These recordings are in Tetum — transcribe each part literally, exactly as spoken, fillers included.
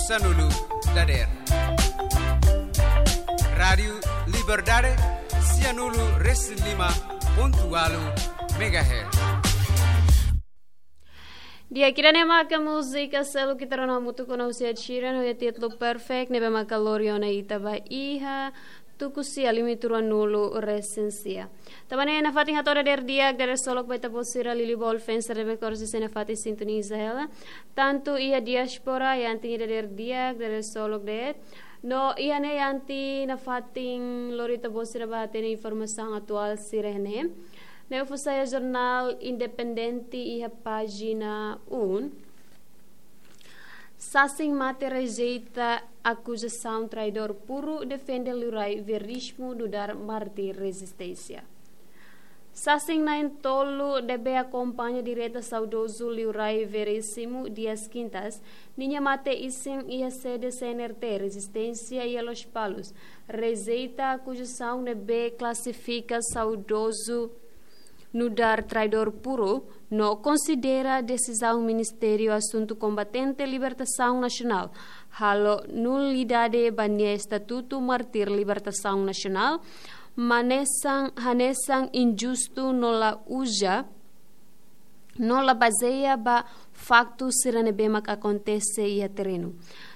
Sanulu dader. Rádiu Liberdade, sianulu resin lima pontu ualu megahertz. Di'ak, ida-ne'e maka múzika seluk ita rona hamutuk ona husi Ed Sheeran, ho títulu Perfect, ne'ebé maka lori ona ita ba iha tuku sia limituru ruanulu resin sia. Tanba ne'e nafatin hato'o dader di'ak, dader solok ba ita-boot sira liuliu ba all fans sira ne'ebé kores iha nafatin sintoniza hela. Tantu iha diáspora, yain dader di'ak, dader solok de'it. No iha ne'e yain nafatin lori ita-boot sira ba hatene informasaun atuál sira-ne'e. Ne'e fó sai jornál Independente iha pájina um. Sasin Mate rejeita akuzasaun traidór puru, defende Liurai Veríssimo nu'udar mártir rezisténsia. Sasin na'in-tolu ne'ebé akompaña direta saudozu Liurai Veríssimo Dias Quintas, ninia mate isin iha sede C N R T Rezisténsia iha Lospalos, rejeita akuzasaun ne'ebé klasifika saudozu nu'udar traidór puru, no konsidera desizaun Ministériu Asuntu Kombatente Libertasaun Nasionál halo nulidade ba nia estatutu mártir libertasaun nasionál, hanesan, hanesan injustu no la uza, no la bazeia ba faktu sira ne'ebé mak akontese iha terrenu.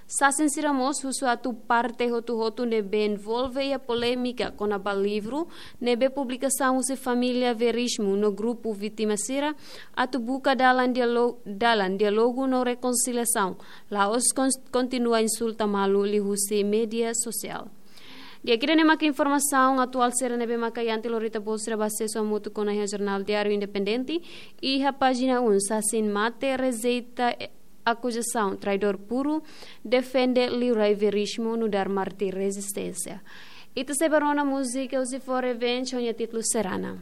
Sasin sira mós husu atu parte hotu-hotu ne'ebé envolve iha polémika kona-ba livru ne'ebé publikasaun husi família Veríssimo no grupu vítima sira atu buka dalan diálo-, dalan diálogu no rekonsiliasaun, la'ós kon-, kontinua insulta malu liuhusi média sosiál. Di'ak, ida-ne'e maka informasaun atuál sira ne'ebé maka yain lori ita-boot sira ba asesu hamutuk ona iha jornál Diáriu Independente, iha pájina um. Sasin Mate rejeita akuzasaun traidór puru, defende Liurai Veríssimo nu'udar mártir rezisténsia. Ita sei ba rona múzika husi For Revenge ho nia títulu Serana.